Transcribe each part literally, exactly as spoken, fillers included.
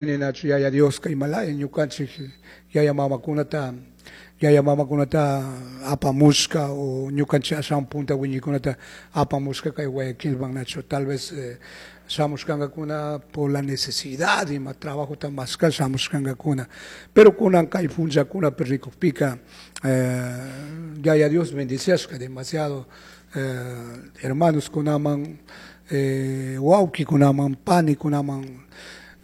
Nachu Yaya Dioska imalaya ñukanchik yaya mamakunata yaya mamakunata apamushka o ñukanchik ashawan punta wiñaykunata apamushka kay Guayaquilman, nachu. Tal vez eh, shamushkankakuna por la necesidad, ima trabajota mashka shamushkankakuna, pero kunan kay punllakunapi rikukpika eh, Yaya Dios bendiciashka demasiado eh, hermanos kunaman, eh, wawkikunaman, panikunaman.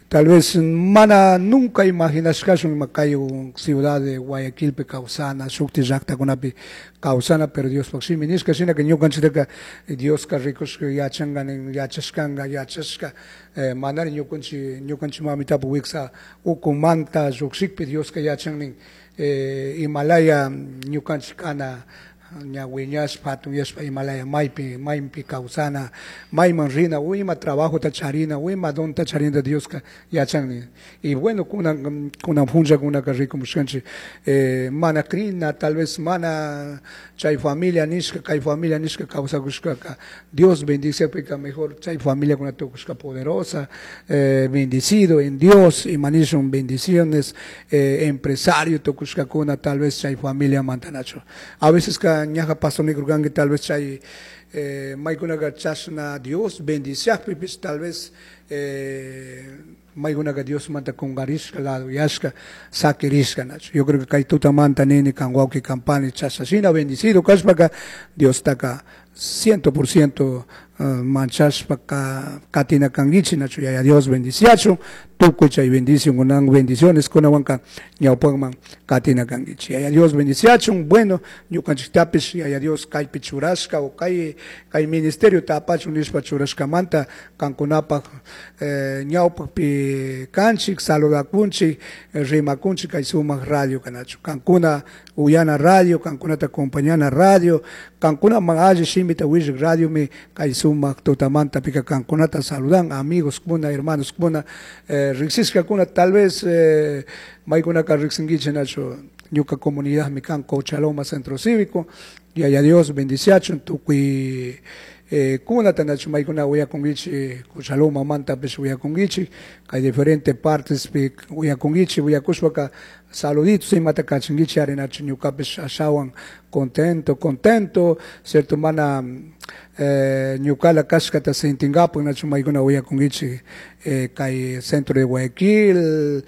Tal vez mana nunca imaginashkashun ima kay ciudad de Guayaquilpi kawsana, shukti llaktakunapi kawsana, pero Diospaj shimi nishka shinaka ñukanchiktaka Dioska rikushka yachanka nin, yachashkanka, yachashka eh, manari ñukanchik ñukanchik mamitapak wiksa ukumanta llukshikpi Dioska yachan nin eh, imalaya ñukanchik kana ña wiñashpa hatunyashpa, imalaya maypi maypi kawsana, mayman rina o ima trabajota charina o ima donta charina, Dioska yachan nin. Y bueno, kunan kunan punllakunaka rikumushkanchik eh, mana crina, tal vez mana chay familia nishka, kay familia nishka kawsakushkaka Dios bendiciapika mejor chay familiakuna tukushka poderosa, eh, bendecido en Dios, ima nishun bendiciones, eh, empresario tukushkakuna tal vez chay familia mantanachu. A veces ka ñaja pastor nikurkanki, tal vez chay eh, maykunaka chashna Dios bendiciakpipish tal vez eh, maykunaka Diosmanta kunkarishka, laduyashka sakirishka, nachu. Yo creo que kay tutamanta nini kan wawki, kan pani, chashna shina bendecido kashpaka Diostaka ciento por ciento uh, manchashpa ka katina kankichik, nachu. Yaya Dios bendiciachun tukuy chay bendición kunan bendiciones kunawanka ñawpakman katina kankichik. Yaya Dios bendiciachun. Bueno, ñukanchiktapish Yaya Dios kaypi churashka o kay kay ministerio tapachun nishpa churashkamanta kankunapak eh, ñawpakpi kanchik, saludakunchik, rimakunchik kay sumak radio kanachu, kankuna uyana radio, kankunata acompañana radio, kankunaman alli shimita willak radiomi kay sumak tutamanta pika kankunata saludan, amigos kuna, hermanos kuna, eh, riksishkakuna, tal vez eh, maykunaka riksinkichik, nachu. Ñuka comunidad mi kan Cochaloma Centro Cívico. Yaya Dios bendiciachun tukuy eh, kunata, nachu. Maykuna uyakunkichik Cochaloma mantapish uyakunkichik, kay diferentes partes pi uyakunkichik. Uyakushpaka saluditos imata kachinkichik ari, nachu. Ñukapish ashawan contento contento, cierto, mana eh, ñukala kashkata sintinkapak, nachu, maykuna uyakunkichik eh, kay centro de Guayaquil,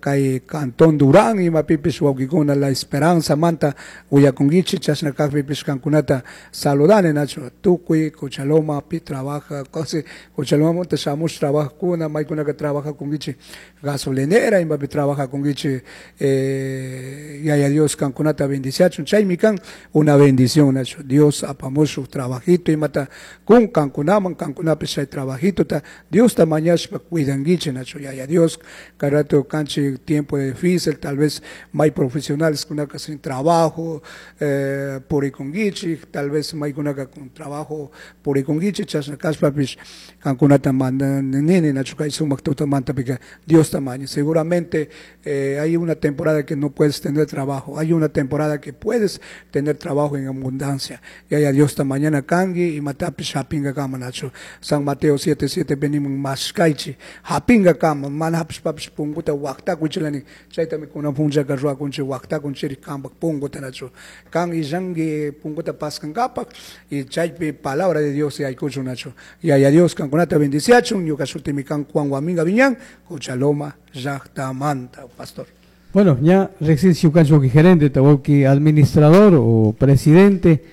kay Cantón Durán, imapipish wawkikuna La Esperanza manta uyakunkichik. Chashna kakpipish kankunata saludani, nachu. Tukuy Cochaloma pi trabaja, casi Cochaloma manta shamush trabajakuna, maykunaka trabajakunkichik gasolinera, imapi trabajakunkichik, eh, Yaya Dios kankunata bendiciachun. Chaymi kan una bendición, nachu. Dios apamush shuk trabajito imata kun kankunaman, kankunapish chay trabajitota Diosta mañashpa cuidankichik, nachu. Yaya Dios kay rato kanchik tiempo de difícil, tal vez may profesionales kunaka sin trabajo eh, purikunkichik, tal vez maykunaka con trabajo purikunkichik. Chashna kashpapish kankunata nini, nachu, kay sumak tutamantapika Diosta maña. Seguramente eh, hay una temporada que no puedes tener trabajo, hay una temporada que puedes tener trabajo en abundancia. Yaya Diosta mañana kanki imatapish hapingakama, nachu. San Mateo siete siete venimos mashkaychik hapingakama, mana hapishpapish punguta waktakuchilani. Chaytami kunan punllaka ruwakunchik, waktakunchik kampak punguta, nachu. Kan illanki punguta paskankapak y chaypi palabra de Dios yaykuchun, nachu. Yaya Dios kankunata bendiciachun. Ñuka shutimi kan Juan Guaminga Viñán, Cochaloma llaktamanta, pastor. Bueno, ya riksinchik ñukanchik gerente, wawki administrador o presidente,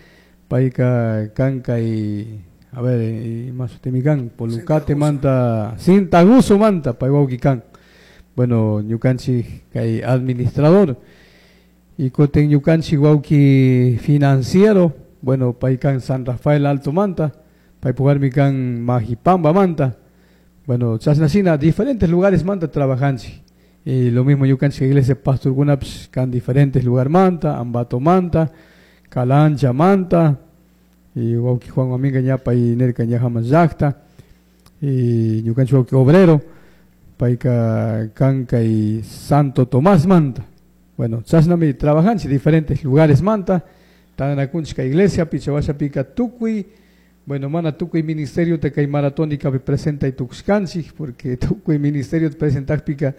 payka kan kay, a ver, ima shutimi kan, Polucate manta, Sintaguso manta, pay wawki kan. Bueno, ñukanchik kay administrador y kutin ñukanchik wawki financiero, bueno, pay kan San Rafael Alto manta, paypuk warmi kan Majipamba manta. Bueno, chashnashina diferentes lugares manta trabajanchik. Y lo mismo ñukanchik iglesia pastorkunapish kan diferentes lugar manta, Ambato manta, Calancha manta, y wawki Juan Guaminga ña pay nirka ñajaman llakta, y ñukanchik wawki obrero, payka kan kay Santo Tomás manta. Bueno, chashnami trabajanchik diferentes lugares manta, tantanakunchik kay iglesia, pichawashapika tukuy Bueno, mana tukuy ministerio kay maratónica presenta tukushkanchik porque tukuy ministerio presentakpika